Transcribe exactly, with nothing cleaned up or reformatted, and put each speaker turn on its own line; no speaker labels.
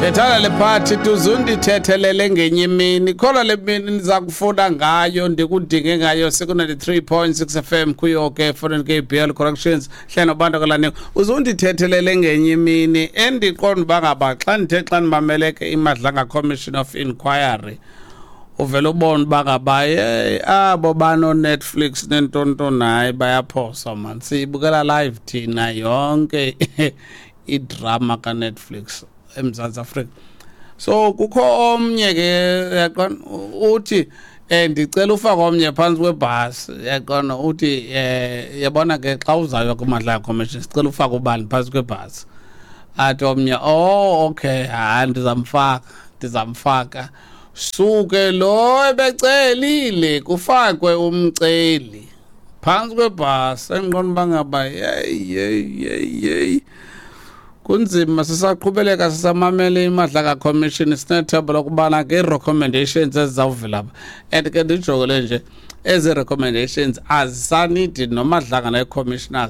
Ndithanda le part, uzundithethelele ngenye imini. Khona le mini ndiza kufuna ngayo, ndikudinge ngayo. Siku-ninety-three point six F M kuyo ke Foreign K B L Corrections hle nobantu kalane. Uzundithethelele ngenye imini. Endiqonda uba ngaba xa ndithe xa ndimamele ke iMadlanga Commission of Inquiry, uvele ubone uba ngaba yeyi, abo bano-Netflix nentonton, hayi, bayaphosa man. Siyibukela live thina yonke idrama kaNetflix eMzantsi Afrika. So kukho omnye ke, yaqona, uthi eh ndicela ufake omnye phantsi kwebhasi. Yaqona, uthi eh yabona ke, xa uzayo kuMadlanga Commission, sicela ufake ubani phantsi kwebhasi. Athi omnye, "Oh okay, hayi, ndizamfaka, ndizamfaka." Suke lo ebecelile kufakwe umceli phantsi kwebhasi. Endiqonda uba ngaba yeyi, yeyi, yeyi, yeyi, kunzima. Sisaqhubeleka sisamamele iMadlanga Commission. Sinethemba lokubana ke ii-recommendations ezizawuvela apha, and ke ndijongele nje ezi recommendations azisanidi noMadlanga nee-commissioners.